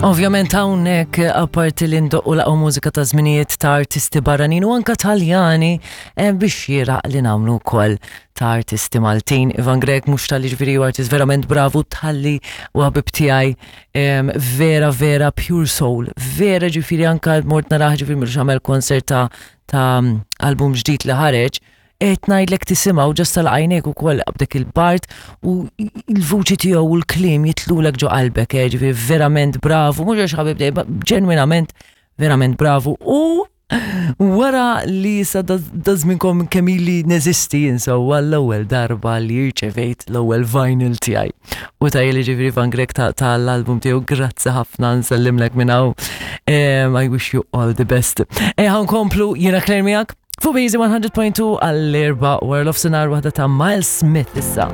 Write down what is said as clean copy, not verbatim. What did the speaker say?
Ovvjament hawnhekk apparti li ndoqqu laqgħu mużika ta' żminijiet ta' artisti barranin u anka Taljani eh, biex xieraq li nagħmlu wkoll ta' artisti Maltin. Ivan Grek mhux tal ġifieri u artist verament bravu tħalli u ħabib tiegħi vera vera pure soul. Vera ġifieri anka mort naraħ ġifieri mhux għamel konsert ta' ta' album ġdid li ħareġ qed ngħidlek tisimgħu ġast tal-għajnejk ukoll b'dik il-part u l-vuċi tiegħu u l-kliem jitlulek ġo qalbek, eh, ġifieri verament bravu, mhux għax ħabib dejjem, ġenwinament verament bravu u wara li sa dażminkom kemm ili neżisti insewwa l-ewwel darba li rċevejt l-ewwel vinyl tiegħi. U ta' li ġifieri Van Grek tal-album tiegħu grazzi ħafna nsellimlek minn hawn. I wish you all the best. E ħankomplu jiena Claire miegħek fuq Easy 100.2 għall-erba' wara l-ofsinhar waħda ta' Miles Smith issa.